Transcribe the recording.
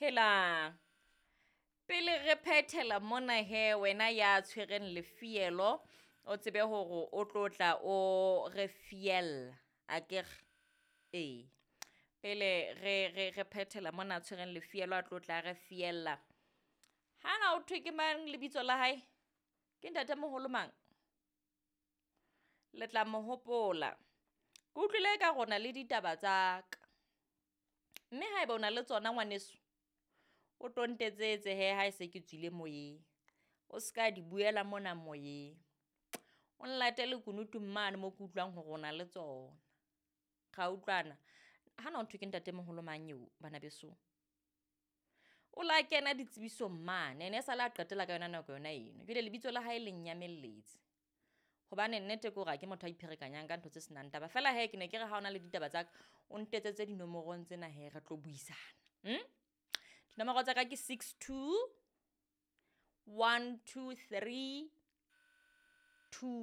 Helang, pele re phethela mona hee wena ya tshwereng lefielo, o tsebe hore o tlo tla o re fiella akere. Ee, pele re phethela mona a tshwereng lefielo a tlo tla re fiella. Hana ho thwe ke mang lebitso la hae? Ke ntatemoholo mang? Le tla mo hopola. Ke utlwile ekare o na le ditaba tsa ka, mme haeba o na le tsona ngwaneso o tlo ntetsetse hee ha e se ke tswile moyeng. O se ka di buela mona moyeng, o nlate lekunutung mane moo ke utlwang hore o na le tsona. Ra utlwana? Hana ho thwe ke ntatemoholo mang eo bana besong? O la kena ditsebisong mane ene esale a qetela ka yona nako yona eno. Jwale lebitso la hae le nyamelletse hobane nnete ke hore ha ke motho a ipherekanyang ka ntho tse senang taba. Fela hee ke ne ke re ha ona le ditaba tsa ka, o ntetsetse dinomorong tsena hee re tlo buisana . Dinomoro tsa ka ke 62 123 2.